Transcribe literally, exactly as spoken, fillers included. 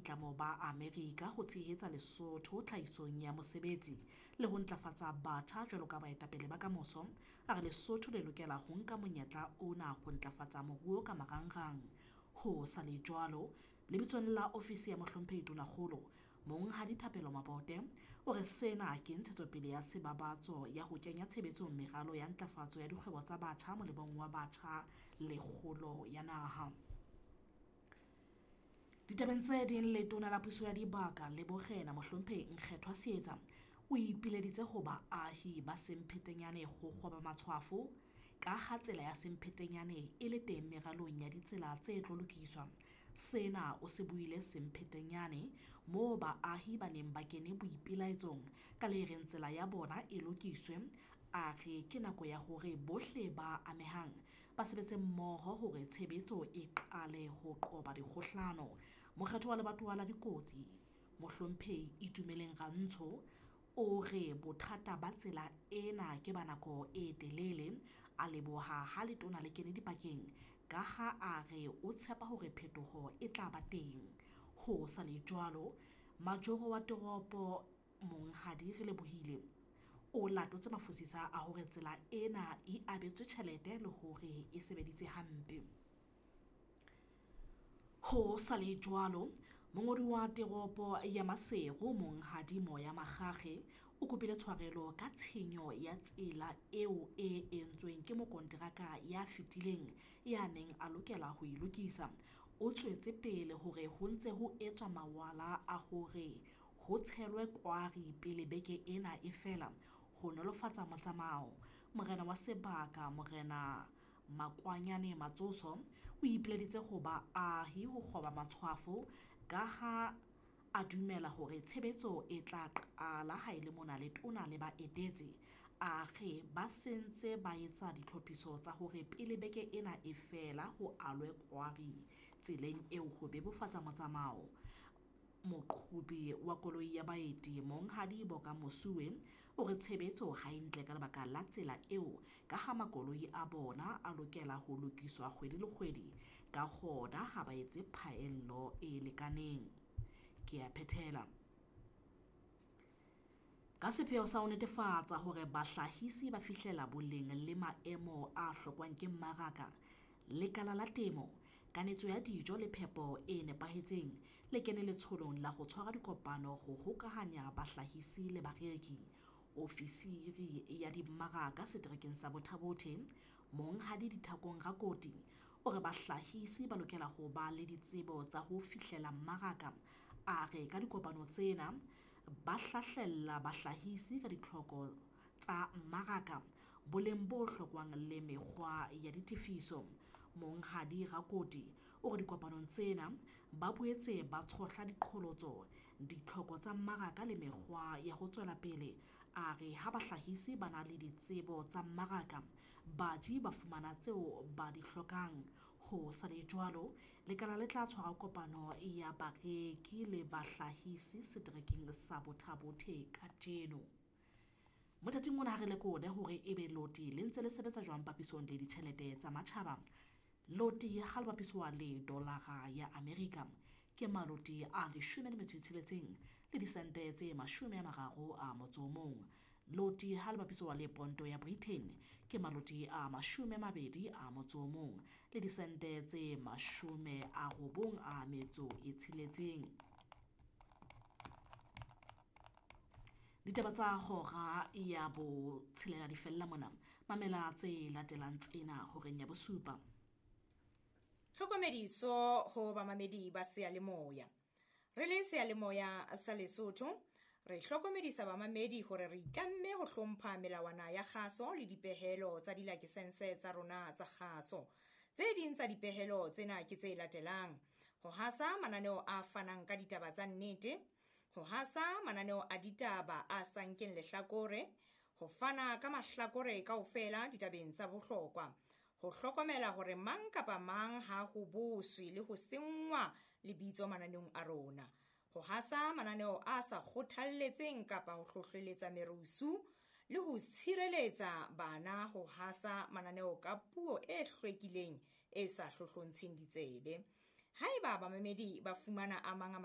boitlamo ba Amerika ho tshehetsa Lesotho tlhahisong ya mosebetsi le ho ntlafatsa batjha jwalo ka baetapele ba kamoso. A re Lesotho le lokela ho nka monyetla ona ho ntlafatsa moruo ka marangrang. Ho sa le jwalo, lebitsong la ofisi ya Mohlomphehi Tonakgolo, Monghadi Thapelo Mabote o re sena ke ntshetsopele ya sebabatso ya ho kenya tshebetsong meralo ya ntlafatso ya dikgwebo tsa batjha molemong wa batjha le kgolo ya naha. Ditabeng tse ding, Letona la Puso ya Dibaka le Borena Mohlomphehi Nkgethwa Seetsa o ipileditse ho baahi ba Semphetenyane ho kgoba matshwafo ka ha tsela ya Semphetenyane e le teng meralong ya ditsela tse tlo lokiswa. Sena o se buile Semphetenyane moo baahi ba neng ba kene boipelaetsong ka le reng tsela ya bona e lokiswe. A re ke nako ya hore bohle ba amehang ba sebetse mmoho hore tshebetso e qale ho qoba dikgohlano. Mokgetho wa lebatowa la Dikotsi Mohlomphehi Itumeleng Rantsho o re bothata ba tsela ena ke ba nako e telele. A leboha ha letona le kene dipakeng ka ha a re o tshepa hore phetoho e tla ba teng. Ho sa le jwalo, majoro wa toropo Monghadi Relebohile o latotse mafosisa a hore tsela ena e abetswe tjhelete le hore e sebeditse hampe. Ho sa le jwalo, mongodi wa teropo ya Maseru Monghadi Moya Makgakge o kopile tshwarelo ka tshenyo ya tsela eo e entsweng ke mokonteraka ya fetileng ya neng a lokela ho e lokisa. O tswetse pele hore ho ntse ho etswa mawala a hore ho tshelwe kwari pele beke ena e fela ho nolofatsa motsamao. Morena wa sebaka Morena Makwanyane Matsoso o ipileditse ho baahi ho kgoba matshwafo ka ha a dumela hore tshebetso e tla qala ha e le mona letona le ba etetse. A re ba sentse ba etsa ditlhophiso tsa hore pele beke ena e fela ho alwe kwari tseleng eo ho bebofatsa motsamao. Moqhobi wa koloi ya baeti Monghadi Boka Mosuwe o re tshebetso ha e ntle ka lebaka la tsela eo ka ha makoloi a bona a lokela ho lokiswa kgwedi le kgwedi, ka hona ha ba etse phaello e lekaneng. Ke a phethela. Ka sepheo sa ho netefatsa hore bahlahisi ba fihlela boleng le maemo a hlokwang ke mmaraka, Lekala la Temo, Kanetso ya Dijo le Phepo e Nepahetseng le kene letsholong la ho tshwara dikopano ho hokahanya bahlahisi le bareki. Ofisiri ya dimmaraka seterekeng sa Botha-Bothe, Monghadi Dithakong Rakoti, o re bahlahisi ba lokela ho ba le ditsebo tsa ho fihlela mmaraka. A re ka dikopano tsena ba hlahlella bahlahisi ka ditlhoko tsa mmaraka, boleng bo hlokwang le mekgwa ya ditefiso. Monghadi Rakoti o re dikopanong tsena ba boetse ba tshohla diqholotso, ditlhoko tsa mmaraka le mekgwa ya ho tswela pele. A re ha bahlahisi ba na le ditsebo tsa mmaraka, baji ba fumana tseo ba di hlokang. Ho sa le jwalo, lekala le tla tshwara kopano ya bareki le bahlahisi seterekeng sa Botha-Bothe kajeno. Mothating ona ha re lekole hore ebe loti le ntse le sebetsa jwang papisong le ditjhelete tsa matjhaba. Loti ha le bapiswa le dolara ya Amerika ke maloti a leshome le metso e tsheletseng le disente tse mashome a mararo a motso o mong. Loti ha le bapiswa le ponto ya Britain ke maloti a mashome a mabedi a motso o mong le disente tse mashome a robong a metso e tsheletseng. Ditaba tsa hora ya botshelela di fella mona. Mamela tse latelang tsena horeng ya bosupa. Tlhokomediso ho bamamedi ba seyalemoya. Re le seyalemoya sa Lesotho, re hlokomedisa bamamedi hore re itlamme ho hlompha melawana ya kgaso le dipehelo tsa dilakesense tsa rona tsa kgaso. Tse ding tsa dipehelo tsena ke tse latelang: ho hasa mananeo a fanang ka ditaba tsa nnete, ho hasa mananeo a ditaba a sa nkeng lehlakore, ho fana ka mahlakore kaofela ditabeng tsa bohlokwa, ho hlokomela hore mang kapa mang ha ho boswe le ho senngwa lebitso mananeong a rona, ho hasa mananeo a sa kgothalletseng kapa ho hlohleletsa merusu, le ho tshireletsa bana ho hasa mananeo ka puo e hlwekileng e sa hlohlontsheng ditsebe. Haeba bamamedi ba fumana a mang a